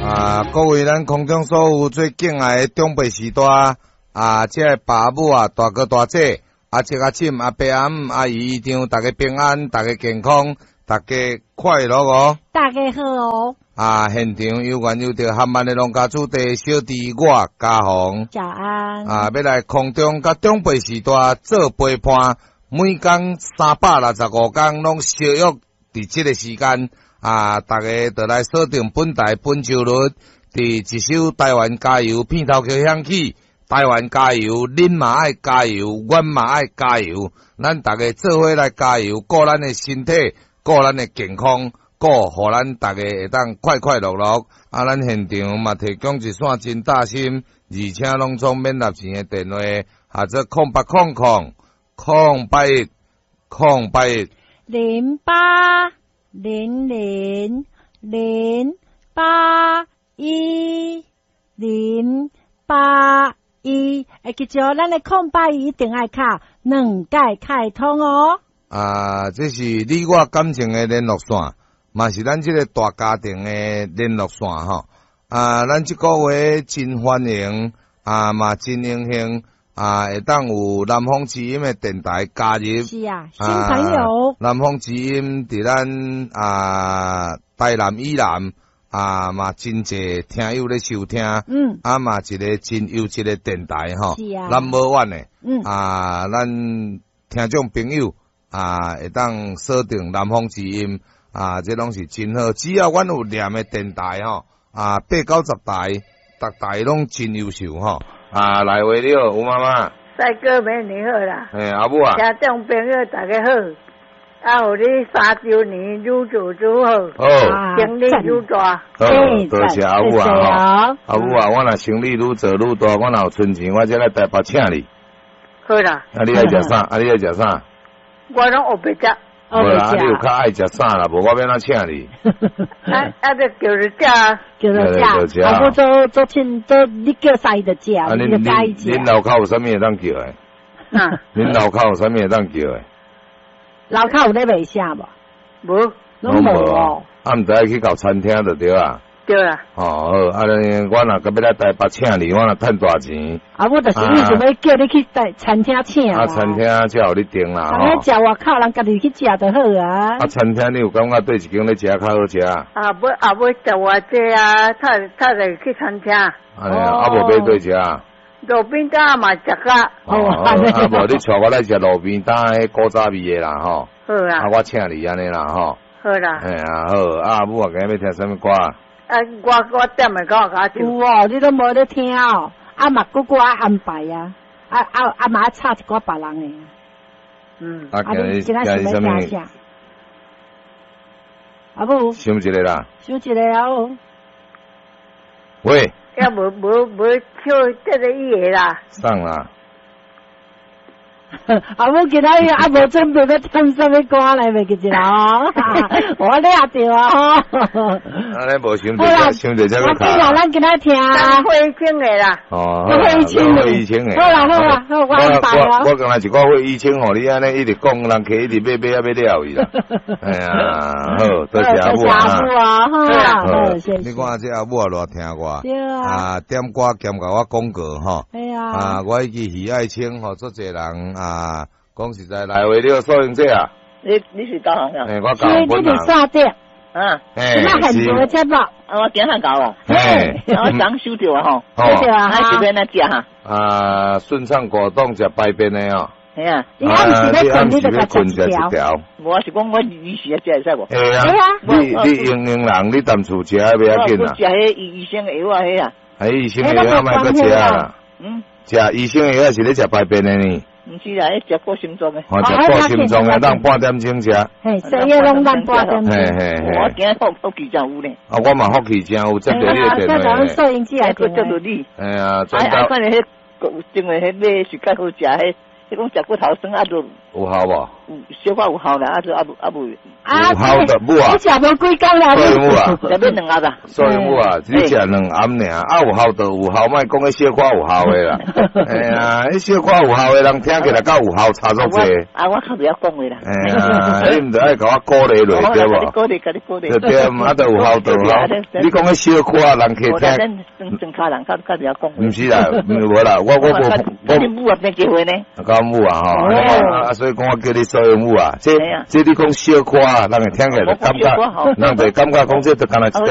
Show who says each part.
Speaker 1: 啊，各位咱空中所有最敬愛的長輩序大啊，這个爸母啊，大哥大姐，阿叔阿嬸阿伯阿姆阿姨姨丈，大家平安，大家健康，大家快樂哦。
Speaker 2: 大家好哦。
Speaker 1: 啊，現場有緣有著含萬的農家子弟小弟我嘉宏。
Speaker 2: 早安。
Speaker 1: 啊，欲來空中佮長輩序大做陪伴，每工365工攏相約佇這个時間。啊，大家就來鎖定本台本周日，佇一首台灣加油片頭曲響起，台灣加油，恁嘛愛加油，阮嘛愛加油，咱大家做伙來加油，顧咱的身體，顧咱的健康，顧予咱大家會當快快樂樂。啊，咱現場嘛提供一線真貼心，而且攏總免納錢的電話，號做0800 081 081
Speaker 2: 0800 081 081，會記住咱的空八一一定愛敲兩擺開通哦。
Speaker 1: 啊，這是你我感情的聯絡線，嘛是咱這個大家庭的聯絡線吼。啊，咱這個月真歡迎，啊嘛真榮幸，啊會當有南方之音的電台加入。
Speaker 2: 是啊，新朋友。
Speaker 1: 南方之音佇咱啊台南以南啊嘛真濟聽友咧收聽。啊嘛一個真優質的電台吼。Number one 的。啊，咱聽眾朋友啊會當鎖定南方之音啊，這攏是真好。只要阮有連的電台吼，啊八九十台，逐台攏真優秀吼。啊，來話你好，吳媽媽。
Speaker 3: 帥哥美女好啦。
Speaker 1: 嘿，阿母啊。
Speaker 3: 聽眾朋友大家好，啊，予你3週年愈做愈好，
Speaker 1: 好，
Speaker 3: 生意愈大。
Speaker 1: 好，多謝阿母啊，阿母啊，我若生意愈做愈大，我若有存錢，我才來台北請你。
Speaker 3: 好啦。
Speaker 1: 啊，你愛食啥？啊，你愛食啥？
Speaker 3: 我攏烏白食。
Speaker 1: 無啦，啊，你有較愛食啥啦？無我欲按怎請你？
Speaker 3: 啊啊！就叫你食，
Speaker 2: 叫你食。啊，我做做請做，你叫啥伊就食，你就佮意食。
Speaker 1: 恁樓跤有啥物會當叫的？
Speaker 3: 啊？
Speaker 1: 恁樓跤有啥物會當叫的？
Speaker 2: 樓跤有咧賣啥無？
Speaker 3: 無，
Speaker 2: 攏無哦。
Speaker 1: 啊，毋知愛去到餐廳就對啊。
Speaker 3: 對啦。
Speaker 1: 哦，好，啊，我若閣欲來台北請你，我若趁大錢。
Speaker 2: 啊，我就是意思欲叫你去台餐廳請。
Speaker 1: 啊，餐廳才予你訂啦。
Speaker 2: 啊，食外口人家己去食就好啊。
Speaker 1: 啊，餐廳你有感覺佗一間咧食較好食？
Speaker 3: 啊，欲啊欲食偌濟啊，趁趁就去餐廳。
Speaker 1: 啊，啊無欲佗食？
Speaker 3: 路邊攤嘛食較。
Speaker 1: 哦，啊無你帶我來食路邊攤彼古早味的啦吼。
Speaker 3: 好啊。
Speaker 1: 啊，我請你按呢啦吼。
Speaker 3: 好啦。
Speaker 1: 嘿啊，好，啊阿母啊，今日欲聽啥物歌？
Speaker 3: 啊，我點的歌較
Speaker 2: 有哦，你攏無咧聽哦。啊嘛，閣閣愛安排啊，啊啊啊嘛愛插一寡別人的。
Speaker 1: 啊，今日今日啥物？
Speaker 2: 阿母。
Speaker 1: 想一个啦。
Speaker 2: 想一個啊！
Speaker 1: 喂。
Speaker 3: 也無無無唱這个伊的啦。
Speaker 1: 送啦。
Speaker 2: 阿母今仔日啊無準備欲點啥物歌來，袂記一啦哦，我掠著啊吼。
Speaker 1: 啊，你無想著，想著這個卡。
Speaker 2: 我啦，咱今仔聽。
Speaker 3: 費玉清的啦。
Speaker 1: 哦，
Speaker 2: 費玉清
Speaker 1: 費玉清的。
Speaker 2: 好啦好啦，好我安排啊。
Speaker 1: 我剛才一寡費玉清吼，你按呢一直講，人客一直買買啊欲了去啦。哎呀，好，多謝阿母啊。
Speaker 2: 阿母啊，好，謝謝。
Speaker 1: 你看這阿母也偌聽我。
Speaker 2: 對啊。
Speaker 1: 啊，點歌兼共我廣告吼。
Speaker 2: 對啊。
Speaker 1: 啊，我記許愛清吼，足濟人啊，講實在，來話你好，素英姐啊。
Speaker 4: 你是高雄啊？
Speaker 1: 欸，我高雄
Speaker 2: 你佇煞點？
Speaker 4: 啊。
Speaker 1: 欸，
Speaker 2: 那現場的節目。
Speaker 4: 啊，我今仔到哦。
Speaker 1: 嘿。
Speaker 4: 我昨收著啊吼。
Speaker 2: 收著啊。
Speaker 4: 啊，是欲按怎食哈？
Speaker 1: 啊，順暢果凍食排便的哦。
Speaker 4: 嘿啊。
Speaker 2: 你暗時欲睏，你就共食一條。
Speaker 4: 無啊，是講我醫時食會使無？
Speaker 1: 會啊。你營養人，你踮厝食袂要緊啊。
Speaker 4: 我食彼醫生的藥啊，彼啊。
Speaker 1: 啊，醫生的藥莫閣食啊。
Speaker 4: 嗯。
Speaker 1: 食醫生的藥是咧食排便的呢。
Speaker 4: 毋是啦，彼食顧心臟的。
Speaker 1: 哦，食顧心臟的，當半點鐘食。
Speaker 2: 嘿，西藥攏當半點鐘。
Speaker 1: 嘿嘿嘿。
Speaker 4: 我今日福氣真有呢。
Speaker 1: 啊，我嘛福氣真有，接著你的電話。
Speaker 2: 收音機來
Speaker 4: 閣接著你。
Speaker 1: 哎呀，
Speaker 4: 啊啊，反正彼，因為彼買是較好食，彼你講食骨頭酸啊，就
Speaker 1: 有效無？
Speaker 4: 有小可有效啦，啊就啊無啊無，
Speaker 2: 啊
Speaker 1: 有效的母啊
Speaker 2: 你食無幾工啦？
Speaker 1: 所以母啊，
Speaker 4: 食欲兩盒啦。
Speaker 1: 所以母啊，你食兩暗爾，啊有效就有效，莫講彼小可有效的啦。哎呀，彼小可有效的人聽起來佮有效差足濟。
Speaker 4: 啊，我較袂曉講話啦。
Speaker 1: 哎呀，你毋著愛共我鼓勵落對無？
Speaker 4: 鼓勵，共你鼓勵。
Speaker 1: 對對，啊，就有效就有效。你講彼小可人客聽，
Speaker 4: 咱莊跤人較較袂曉講話。
Speaker 1: 毋是啦，無啦，我無我。
Speaker 4: 你母啊變結婚呢？
Speaker 1: 講母啊吼，啊，所以講我叫你做母啊，這這你講小可，人會聽起來就感覺，人就感覺講這就敢若一